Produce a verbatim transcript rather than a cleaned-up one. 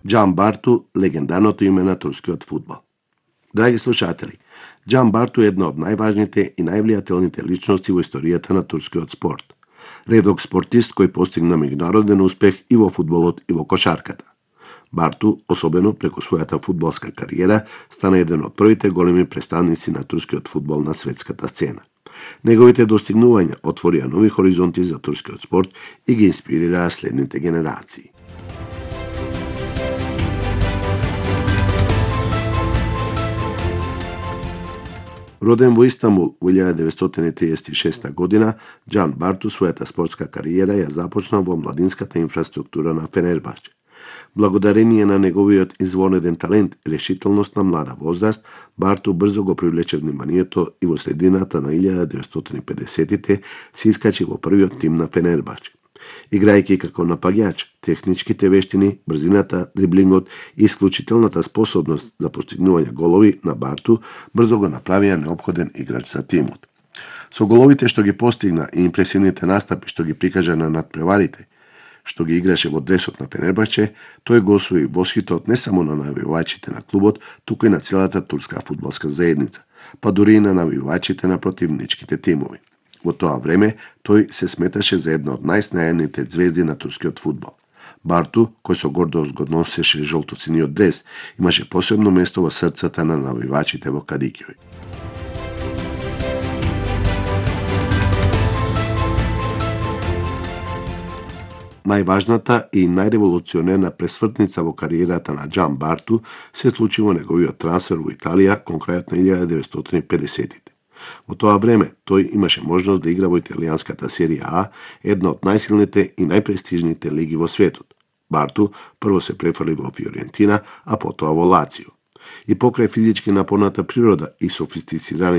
Џан Барту, легендарното име на турскиот фудбал. Драги слушатели, Џан Барту е една од најважните и највлијателните личности во историјата на турскиот спорт. Редок спортист кој постигна меѓународен успех и во фудбалот и во кошарката. Барту, особено преку својата фудбалска кариера, стана еден од првите големи представници на турскиот фудбал на светската сцена. Неговите достигнувања отворија нови хоризонти за турскиот спорт и ги инспирираа следните генерации. Роден во Истанбул во илјада деветстотини триесет и шеста година, Џан Барту својата спортска кариера ја започна во младинската инфраструктура на Фенербахче. Благодарение на неговиот извонеден талент и решителност на млада возраст, Барту брзо го привлече вниманието и во средината на илјада деветстотини и педесетите се искачи во првиот тим на Фенербахче. Играјќи како напаѓач, техничките вештини, брзината, дриблингот и исклучителната способност за постигнување голови на Барту брзо го направија неопходен играч за тимот. Со головите што ги постигна и импресивните настапи што ги прикажа на надпреварите, што ги играше во дресот на Фенербахче, тој го освои восхитот не само на навивачите на клубот, туку и на целата турска фудбалска заедница, па дури и на навивачите на противничките тимови. Во тоа време, тој се сметаше за една од најснајаните звезди на турскиот фудбал. Барту, кој со гордост го носеше жолтосиниот дрес, имаше посебно место во срцата на навивачите во Кадикјој. Најважната и најреволуционерна пресвртница во кариерата на Џан Барту се случи во неговиот трансфер во Италија, конкретно илјада деветстотини и педесетите. Во тоа време, тој имаше можност да игра во италијанската серија А, една од најсилните и најпрестижните лиги во светот. Барту прво се префрли во Фиорентина, а потоа во Лацио. И покрај физички напорната природа и софистицираните